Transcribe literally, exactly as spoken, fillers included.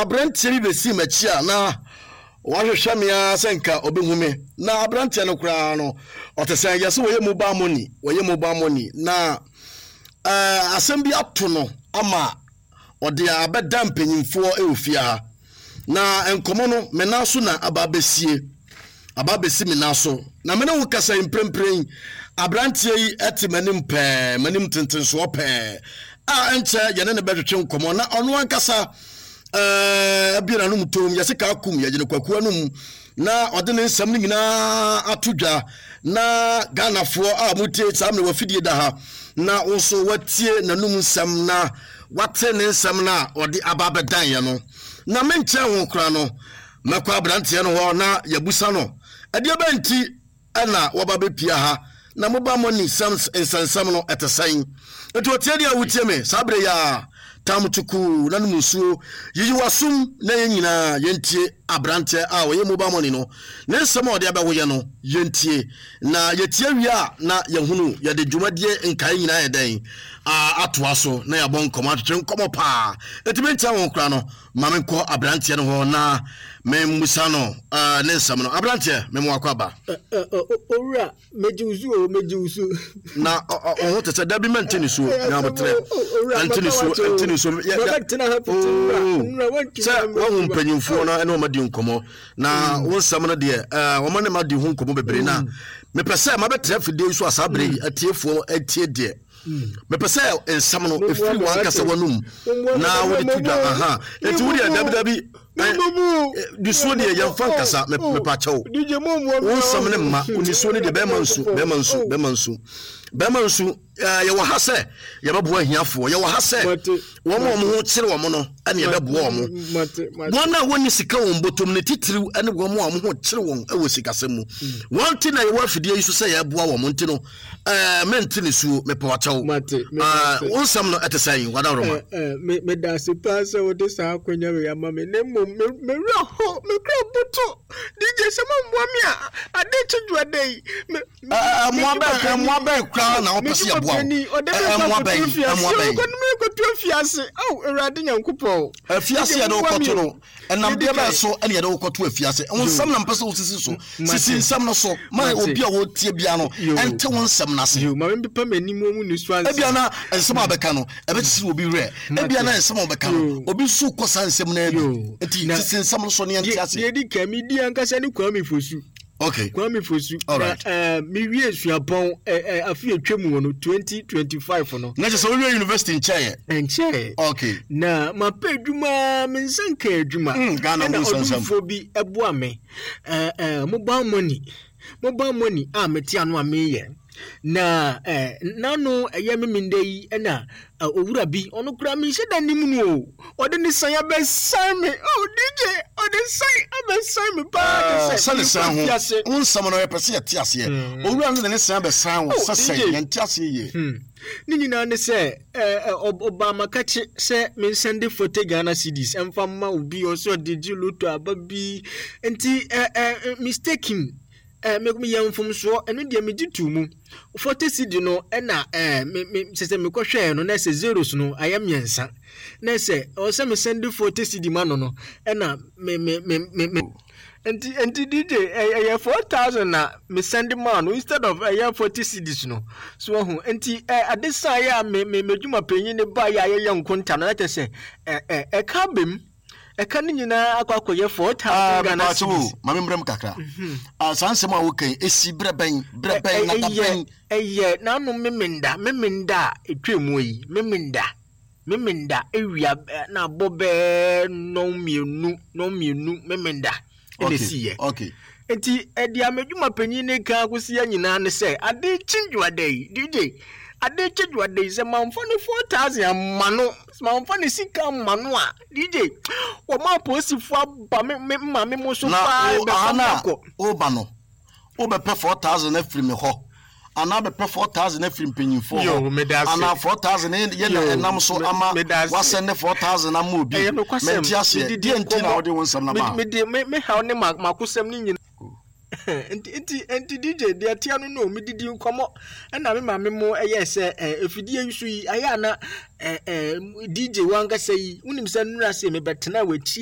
Aberanteɛ bi bɛsii m'akyi a na wahwehwɛ me ara sɛ nka ɔbɛhu me. Na aberanteɛ no koraa no, ɔte sɛ yɛ sɛ wɔyɛ mobile money, wɔyɛ mobile money. Na ɛɛ asɛm bi ato no ama ɔde abɛda mpanyinfoɔ wɔ fie ha. Na nkɔmɔ no, me nan so na aba abɛsie, aba abɛsi me nan so. Na me ne wo kasa yi mprempren, aberanteɛ yi te m'anim pɛɛ, m'anim tentensoɔ pɛɛ, a ɛnkyɛ yɛne ne bɛtwetwe nkɔmɔ. Na ɔno ankasa ɛɛ abue n'anom tom, yɛse kaa kum yɛgyene kwaku anom, na ɔde ne nsɛm no nyinaa ato dwa. Na Ghanafoɔ a motie saa mmerɛ wafidie da ha, na wo nso watie n'anum nsɛm na wate ne nsɛm no a ɔde aba abɛdan yɛ no. Na menkyɛn ho koraa no, mɛkɔ aberanteɛ no hɔ na yɛbusa no ɛdeɛ bɛn nti ɛna wɔba bɛpia ha, na mobile money sɛm nsɛnsɛm no ɛte sɛn. Nti ɔtie deɛ a wotie me saa berɛ yi a, tam tukuu na nom nsuo, yiyi w'asom na yɛn nyinaa yɛntie aberanteɛ a ɔyɛ mobile money no ne nsɛm a ɔde abɛwoyɛ no. Yɛntie, na yɛtie wie a, na yɛhunu yɛde dwumadie nkae nyinaa yɛ dɛn atoa so na yɛabɔ nkɔmmɔ, atwetwe nkɔmmɔ paa. Ɛtumi nkyɛn ho koraa no, ma menkɔ aberanteɛ no hɔ na memmusa no ne nsɛm no. Aberanteɛ, mema wakɔ aba. Owura, megye wo so o, megye wo so. Na ɔho te sɛ dabi mɛnte ne suo nyabotrɛ, ɛnte ne suo, ɛnte ne suo. Sɛ wahu mpanyimfoɔ no ɛne wɔn adi nkɔmmɔ, na wo nsɛm no deɛ wɔn ne ma di ho nkɔmmɔ bebree, na mepɛ sɛ mabɛtena afidie yi so a saa berɛ yi atiefoɔ atie deɛ mepɛ sɛ nsɛm no ɛfiri wɔn ankasa w'anum na wode to dwa. Aha, enti wodeɛ dabi dabi, nisuo deɛ yɛmfa nkasa, mepa kyɛw. Wo nsɛm ne mma nisuo no deɛ, bɛrima nsu, bɛrima nsu, bɛrima nsu, bɛrima nsu. Yɛwɔ ha sɛ yɛbɛboa ahiafoɔ, yɛwɔ ha sɛ wɔn a wɔn ho kyerɛ wɔn no ɛne yɛbɛboa wɔn. Wɔn a wɔnni sika wɔn bɔtɔm ne titiriw ne wɔn a wɔn ho kyerɛ wɔn wɔ sikasɛm mu, wɔn ti na yɛwɔ afidie yi so sɛ yɛboa wɔn. Nti no ɛɛ mente ne suo, mepɛ wakyɛw. Ɛɛ wo nsɛm no ɛte sɛn, wadaworoma? Meda ase paa sɛ wode saa akonnwa wei ama me, na mmom mewerɛ ho, mekura boto. D J, sɛ momboa me a, ade kye dwoada yi. Mmoa bɛn, mmoa bɛn koraa na wopɛ sɛ yɛboa wo? Mmoa bɛn, mmoa bɛn? Kɔto afiase ao, Awurade Nyankopɔn. Afiase yɛde wo kɔto no, ɛnam deɛ bɛn so ɛne yɛde wo kɔto afiase? Wo nsɛm na mpɛ sɛ wosisi so, sisi nsɛm no so ma obi a wɔtie bia no ɛnte wo nsɛm no ase. Ma mempepa m'anim wɔ mu nisu ansa. Ebia na nsɛm a bɛka no ɛbɛkyekye obi werɛ, ebia na nsɛm a wɔbɛka no obi nso kɔ saa nsɛm no abi, nti sisi nsɛm no so ne yɛnte ase. Deɛ di kan, medi ankasa ne Kwame Fosu. Okay. Kwame Fosu. All right. Na uh, me wie suapɔn uh, uh, afi etwa mu no twenty twenty-five no. Na kyerɛ sɛ wowie university nkyɛɛ? Nkyɛɛ. Okay. Na mapɛ adwuma, me nsa nka adwuma. Mm, Ghana mu nsɛnsɛm. Ɛna ɔdomfoɔ bi ɛboa me. Uh, uh, mobile money. Mobile money a mete ano a meyɛ. Na eh, nano ɛyɛ me menda yi ɛna owura bi, ɔno koraa menhyɛ da nim no o, ɔde ne san abɛsan me. Oh D J, ɔde san abɛsan me paa. Sɛ ne san ho wo nsɛm no yɛpɛ sɛ yɛte aseɛ. Owura no de ne san abɛsan wo sɛ sɛn? Yɛnte aseɛ yie. Ne nyinaa ne sɛ ɔbaa makakye sɛ mensɛnde forty Ghana cedis ɛmfa mma obi, ɔsɛ ɔde gye loto aba bi, nti mistaken, meyɛ mfomsoɔ, ɛno deɛ megye too mu. Forty cedi no ɛna ɛɛ me me sɛ sɛ mekɔhwɛɛ no na sɛ zeros no ayɛ mmiɛnsa, na sɛ ɔwɔ sɛ mesɛnde forty cedi ma no no ɛna me me me me me nti nti D J, ɛyɛ four thousand na mesɛnde maa no instead of ɛyɛ forty cedis no so. Ɔho nti ɛ ade san yɛ a me me m'adwuma panyin ne ba yɛ a yɛyɛ nkonta no na kyerɛ sɛ ɛ ɛ ɛka bem, ɛka no nyinaa akɔ akɔyɛ four thousand Ghana cedis. Maame, mmerɛ mu kakra, saa nsɛm a wokan ɛsi berɛ bɛn, berɛ bɛn na da bɛn? Ɛyɛ n'ano memenda, memenda a ɛtwa mu yi, memenda memenda ewia na abɔ bɛɛ nnɔn mmienu, nnɔn mmienu memenda ɛna esi yɛ. Nti ɛde amedwuma panyin ne kan akosi yɛ nyinaa ne sɛ ade kye dwoada yi, D J, ade kye dwoada yi, sɛ manfa ne four thousand ama no, manfa ne sika ama no a, D J, wɔn apolisifoɔ aba me me maame mo so paa bɛfa me akɔ. Woba no, wobɛpɛ four thousand afiri me hɔ anaa bɛpɛ four thousand afiri mpanyinfoɔ hɔ anaa four thousand yɛ na ɛnam so ama wasɛn ne four thousand ama obi? Mɛnti aseɛ, deɛ nti na wode wo nsɛm na ba? Mede me me haw ne ma makosɛm ne nyina nti nti nti D J, deɛ tea no no medidi nkɔmmɔ ɛna me maame mo ɛyɛ sɛ ɛ efidie yi so yi ayɛ ana ɛ ɛ D J wankasa yi, wonim sɛ nnura se mebɛtena w'akyi.